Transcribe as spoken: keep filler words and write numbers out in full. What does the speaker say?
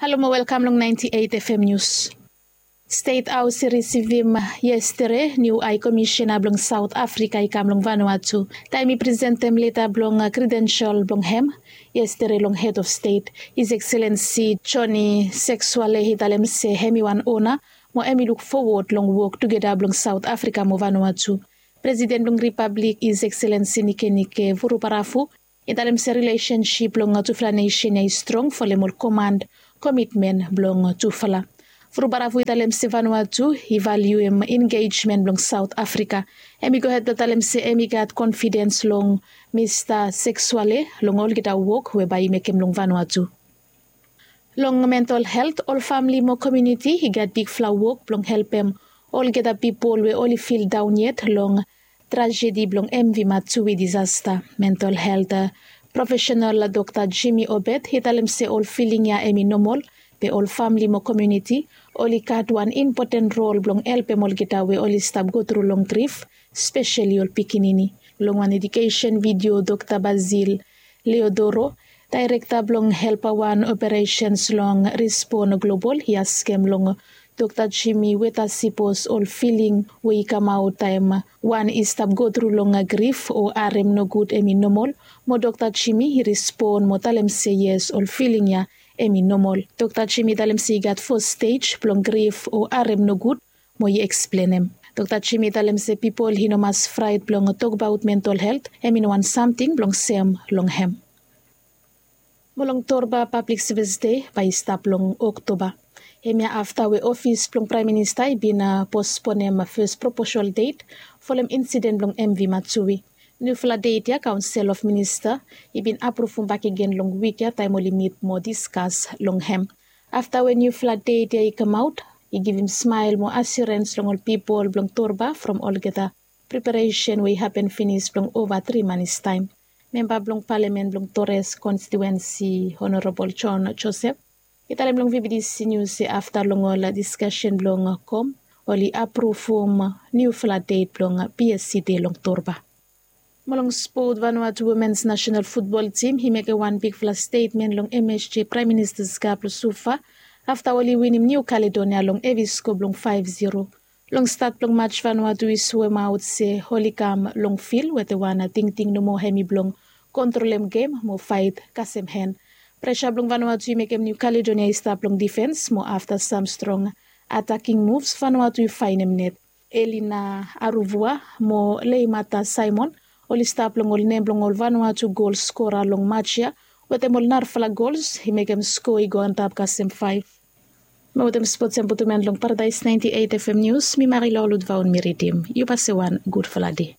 Halo mo welkam long ninety eight F M News. Stet Haos i risivim yestere niu Hai Komisena blong Saot Afrika i kam long Vanuatu taem i presentem leta blong kredensel blong hem. Yestere long Hed of Stet, His Excellency Joni Seksuale i talem se hem i wan ona mo hem i luk fowod long wok tugeta blong Saot Afrika mo Vanuatu. Presiden blong Ripablik, His Excellency Nikenike Vurubarafu, i talem se rilesensip blong tufala nesen ya i strong folem ol komand komitmen blong tufala. Vurubarafu i talem se Vanuatu i valiuem engejmen blong Saot Afrika. Hem i gohed blong talem se hem i gat konfidens long Mista Seksuale long olgeta wok we bae i mekem long Vanuatu. Long mental helt, ol famle mo komuniti i gat bigfala wok blong helpem olgeta pipol we oli fildaon yet long trajedi blong M V Matsui disasta. Mental helt profesenal Dokta Jimmy Obed i talem se ol filing ya hem i nomol, be ol famle mo komuniti oli gat wan impoten rol blong helpem olgeta we oli stap gotru long grif, speseli ol pikinini. Long wan edukesen vidio, Dokta Basil Leodoro, daerekta blong Helpa Wan Operesens long Respon Global, i askem long Dokta Jimmy weta sipos ol filing we i kamaot taem wan i stap gotru long grif o harem nogud hem i nomol. Mo Dokta Jimmy i respon mo talem se yes, ol filing ya hem i nomol. Dokta Jimmy i talem se i gat fo stej blong grif o harem nogud mo i eksplenem. Dokta Jimmy i talem se pipol i no mas fraet blong tokbaot mental helt, hem i no wan samting blong sem long hem. Mo long Torba Pablik Sevis Dei bae i stap long Oktoba. Hemia afta we ofis blong Praem Minista i bin posponem fes proposal det folem insiden blong M V Matsui. Niufala det ya Kaonsel of Minista i bin apruvum bakegen long wik ya taem oli mit mo diskas long hem. Afta we niufala det ya i kamaot, i givim smael mo asirens long ol pipol blong Torba from olgeta preparesen we i hapen finis blong ova tri manis taem. Memba blong Palamen blong Torres konstitiuensi, Honorabol John Joseph, i talem long V B D C News se afta long ol diskasen blong KOM, oli apruvum niufala det blong P S C Dei long Torba. Mo long spot, Vanuatu womens nasenal futbol tim i mekem wan bigfala stetmen long M S G Praem Minista's Cup long Suva afta oli winim Niu Kaledonia long hevi sko blong faef zero. Long stat blong match, Vanuatu i swemaot se oli kam long fil wetem wan tingting nomo, hem i blong kontrolem gem mo faet kasem hen. Presa blong Vanuatu i mekem Niu Kaledonia i stap long difens mo afta sam strong ataking muvs, Vanuatu i faenem net. Elina Aruvua mo Leimata Simon oli stap long ol nem blong ol Vanuatu gol skora long match ya wetem ol narafala gols i mekem sko i go antap kasem faef. Mo wetem spots ya mi putum en long Paradaes ninety eight F M News, mi Marilou Ludvaun mi ridim. Yu basewan, gudfala dei.